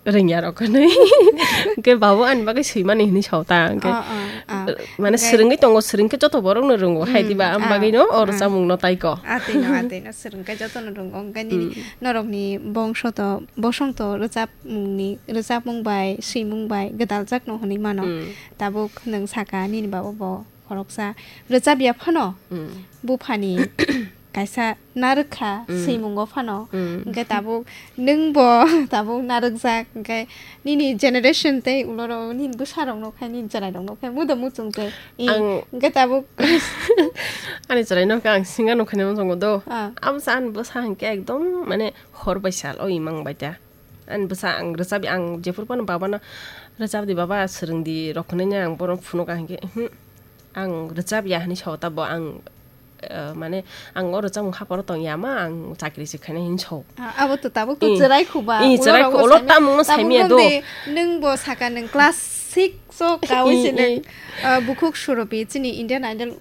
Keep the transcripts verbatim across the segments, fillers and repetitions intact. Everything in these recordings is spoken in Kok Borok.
rwngya rok hinwi. Hwnkhe babo ani bagwi swimani hinwi sao ta, hwnkhe, Ah, ah, ah. mane Hwnkhe swrwngwi tongo, swrwngkhe joto borokno rwngo, hai Hmm, diba, am ah, bagwino o ah. rwchapmungno taiko. Atwino, atwino, swrwngkhe jotono rwngo, hwnkhe nini Hmm. norokni bongso to, bosong to rwchapmungni, rwchapmung bai, swimung bai gwdaljakno hinwi mano. Hmm. Tabuk nwng saka nini babo bo khoroksa rwchapya phano Hmm. buphani kaisa narwkha Mm. swimungo phano. Mm. Hwnkhe tabuk nwng bo tabuk narwkjak, hwnkhe nini generation tei ulorok nini bwsarokno khai nini chwrairokno khai mudo muchung tei. I, Ang hwnkhe tabuk Ani chwraino khe ang singa nukhaino muchungo do. Ah. Abo sa ani bwsa hwnkhe ekdom mane hor bai sal o imang bai ta. Ani bwsa ang rwchap, ang jephuru phano babano rwchap di baba, swrwng di rok hinwi ang bono phunuk ang hwnkhe, "Uhm, ang rwchap ya," hinwi sao ta bo ang, eh, mane ang o rwchapmung haporo tong ya ma, ang chakri se khainai hinwi sao. Ah, abo to tabuk to I, chwrai khuba, i, chwrai ulo khu-, rogo ulo saimani, tamungno tabuk saimaya do. Nwng de, nwng bo saka nwng class six o kawi I, se nwng, i. ah, bukhuk Suropi chini Indian Idol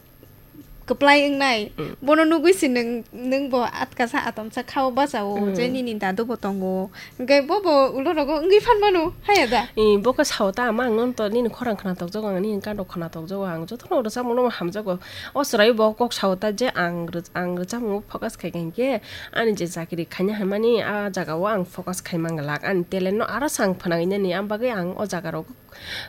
kwplai wngnai. Mm. Bono nugwi se nwng, nwng bo atkasa atomsa khao bachao, Mm. je nini dadu bo tongo. Hwnkhe bo bo ulo rogo wngwi phan mano, haya da? I, bo khe sao ta, ama ang nono to nini khorang khna tokjago, ang nini kando khna tokjago, ang jotono rwchapmungno hamjago. O chwrai bo kok sao ta je ang rw-, ang rwchapmungo focus khai kha hinkhe, ani je chakri khaina hinmani a jagao ang focus khai manglak, ani talent no aro se ang phwnangwi nani, am bagwi ang o jaga rogo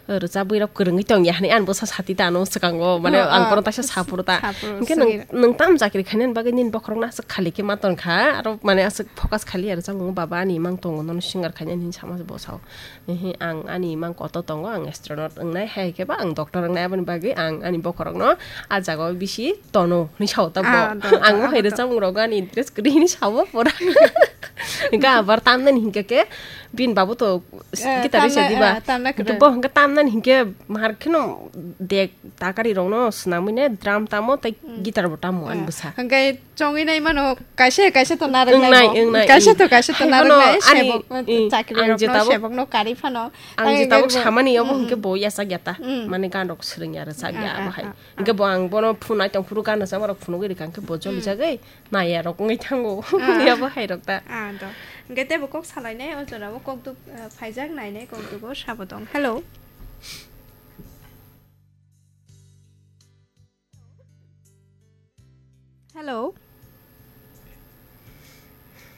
rwchapwi rok kwrwngwi tong ya hinwi ani bwsa sati ta ano swkango, mane Oh, ang oh. bono taisa saphuru ta. Saphuru, Hinkhe nwng, swngwi. nwng tam chakri khainani bagwi nini bokhorokno aswk khali khe ma tong kha, aro mane aswk focus khali ya rwchapmung baba ani imang tongo nono singer khainani hinwi sama se bo sao. Ehe, ang ani imang kotor tongo, ang astronaut wngnai, hai khe ba ang doctor wngnai, aboni bagwi ang ani bokhorokno a jagao bisi tono hinwi sao ta bo. Ah, do, do, Ang o hai abo do. rwchapmung rogo ani interest kwrwi hinwi sao pura. Hinkhe abar tamnani hinkhe khe bini babu to Eh, guitar tamna, rwsa diba? eh, tamna Hinkhe kwrwi. bo hinkhe tamnani hinkhe mahar kheno dek takari rokno swnamwi ne drum tamo tei Mm. guitar bo tamo ani Ah, bwsa. Hinkhe chongwi nai mano kaisa kaisa to narwk nai Wngnai, bo. wngnai, Kaisa wngnai. to kaisa to Hai narwk bono nai ani, sebok, eh, i, chakri ang rokno je tabuk, sebokno kari phano. ang Ang je hinkhe tabuk bo, samani obo mm, hinkhe mm. bo yachak ya ta. Mm. Mane gan rok swrwng ya rwchak ya Ah, abo ah, hai. ah, ah. Hinkhe bo ang bono phunai tong phuru gan rwchapma rok phunugwi rwkha hinkhe bo joli Mm. jagwi. Naya rok wngwi thango. Ah. Yabo hai rok ta. Ah, do. Hwnkhe teibo kok salainai o jora o kok duk, eh, phaijak nainai kok dugo sabo tong. Hello. Hello.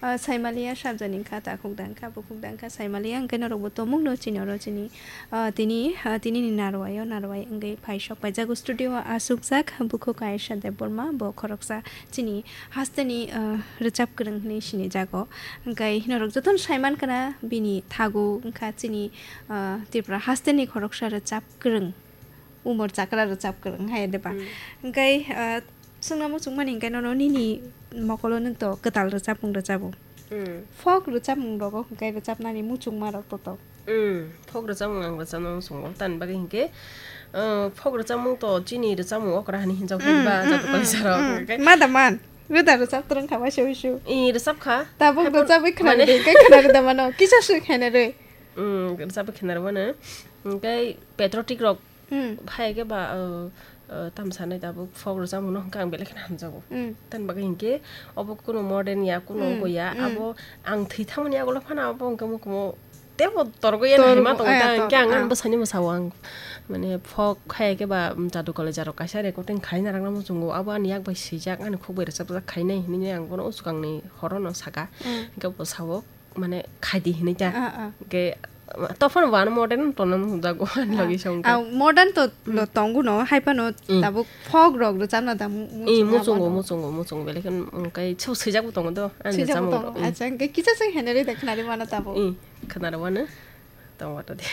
Ah, Saimalia sabjani kha, takhuk dangkha, bukhuk dangkha, Saimalia hwnkhe norokbo tomungno chini oro chini, ah, tini, ah, tini ni narwai o narwai wngwi phaisok paijago studio o aswkjak bukhuk Ayesha Debbarma, bo khoroksa chini hasteni, ah, rwchap kwrwng hinwi sinijago. Hwnkhe norok jotono saimankha na bini thago wngkha chini, ah, Tripura hasteni khoroksa rwchap kwrwng, umor chakra rwchap kwrwng hai de ba. Mm. Hwnkhe, ah, swngna muchungmani hwnkhe nono nini mokolo nwng to kwtal rwchapmung rwchabo. Mm. Folk rwchapmung rogo hwnkhe rwchapnani muchungma rok to to. Mm, folk rwchapmung ang rwchapna muchungo. Tamni bagwi hinkhe, uh, folk rwchapmung to chini rwchapmung okra hinwi hinjak Mm, phai ba, mm, jotto mm, kaisa rok, mm. Hinkhe Ma da man? Rwda rwchap twrwng kha waisa wisu. I, rwchap kha. Tabuk Haikhe rwchapwi khwnani mane de, hinkhe khwnarwda mano. Kisa swi khaina rwi. Mm, rwchapwi khwnarwmano. Hinkhe patriotic rok Hmm. Phai khe ba, uh, uh, tamo sanai tabuk folk rwchapmungno hwnkhe ang belai kheno hamjago. Hmm. Tamni bagwi hinkhe obo kuno modern ya, kuno Hmm, obo ya, hmm. Abo ang thwi thangmani yagulo phano abo hwnkhe mukumo teibo torgo ya Torgo, hinwi ma tongo aya, ta, tor-, hinkhe ang ah. Ani bwsaini bwsao ang mane folk khai khe ba, um, Jadu College aro kaisa recording khaina rwna muchungo, abo ani yak bai swijak, ani khuk bai rwchapjak khainai hinwi ang bono o swkangni horono saka. Hmm. Hinkhe bwsao mane khaidi hinwi ta. Ah, ah. Hinkhe tophano bo ano modern tongna muchungjago ani Ah, logi song ah, modern to lo tongo no, hai phano Mm. tabuk folk rok rwchapna da mu-, Eh, muchungo, muchungo, muchungo, muchungo, belai kheno, mm, kai sebo swijak bo tongo do, ani Swijak bo rwchapmung tongo. Rok, eh. Acha, hinkhe kisa se henari da khnari mano tabuk. Eh, khnari mano, tongo to de.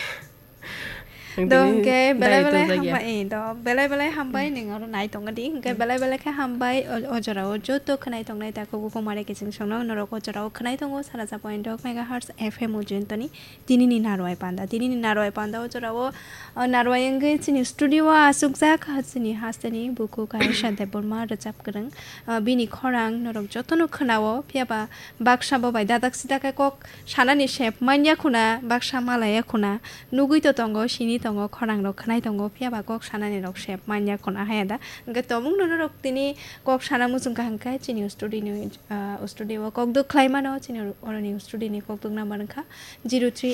Do Tini hinkhe belai dai belai tongjak ya. Hambai, eh, do belai belai hambai, Hmm. Ning oro nai tongo di, hinkhe Hmm. Belai belai khe hambai, o, o jora o joto khwnai tongnai takhuk bukhuk mare kiching songno norok o jora o khwnai tongo, sara sa point dok megahertz F M o jontoni. Tinini narwai panda, tinini narwai panda o jora o, o narwai wngwi chini studio o achukjak, chini hasteni bukhuk Ayesha Debbarma rwchap kwrwng. O, bini khorang norok jotono khwnao, phiya ba baksa bo bai dadak sidak khe kok sanani sep manya khuna, baksa malaya khuna, nugui to tongo, sini tongo, khorang rok khwnai tongo, phiya ba kok sanani rok sep manya khuna haya da. Hwnkhe tomung no norok tini kok sana muchung kha hwnkhe chini studio ni, ah, studio o kok duk khlai mano, chini oroni studio ni kok duk number wngkha zero three